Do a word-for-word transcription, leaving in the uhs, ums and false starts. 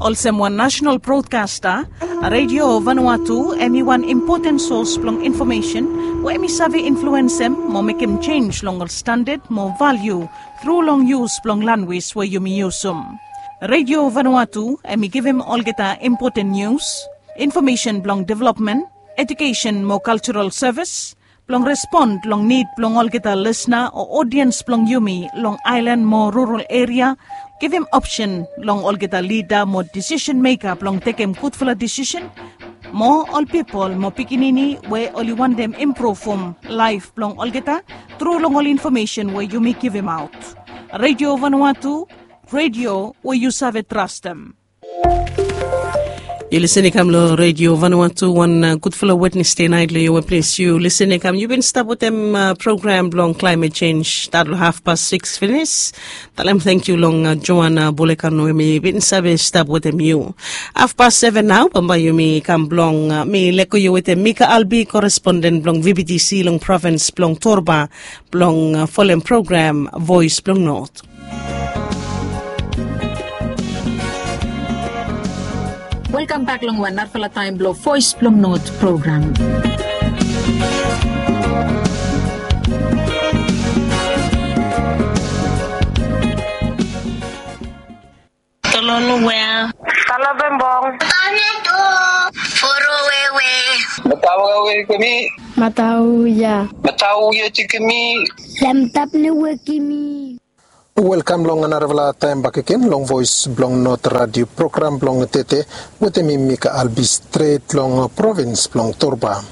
Olsem wan nasenal brodkasta, Redio Vanuatu hemi wan impoten sos blong infomesen we hemi save influensem mo mekem jenis long ol standad mo valiu tru long yus blong lanwis we yumi yusum. Redio Vanuatu hemi givim olgeta impoten nius, infomesen blong developmen, ejukesen mo kaljaral sevis, blong respon long nid blong olgeta lisna o odiens blong yumi long aelan mo rural eria, givim opsen long olgeta lida mo disisen meka blong tekem gudfala disisen, mo ol pipol mo pikinini we oli wantem impruvum laef blong olgeta tru long ol infomesen we yumi givimaot. Redio Vanuatu, redio we yu save trastem. Yu lisin i kam long Redio Vanuatu, wan gudfala Wednesde nait long yu we ples yu lisin i kam. Yu bin stap wetem program blong klaimet jenj stat long hafpas sikis finis. Talem tangkiu long Joana Bolekan we mi bin save stap wetem yu. Hafpas seven nao bambae yumi kam blong mi lego yu wetem Mika Albi, koresponden blong V B T C long provins blong Torba, blong folem program Voes blong Not. Welkam bak long wan narafala taem blong Voes blong Not program. Tolonu wea? Talo bembong. Tane tu. Foro wewe. Matau wewe kemi. Matau ya. Matau ya ti kemi. Lamtap ne wekimi. Welkam long narafala taem bakegen long Voes blong Not Radio program blong tede wetem mi Mika Albi stret long provins blong Torba.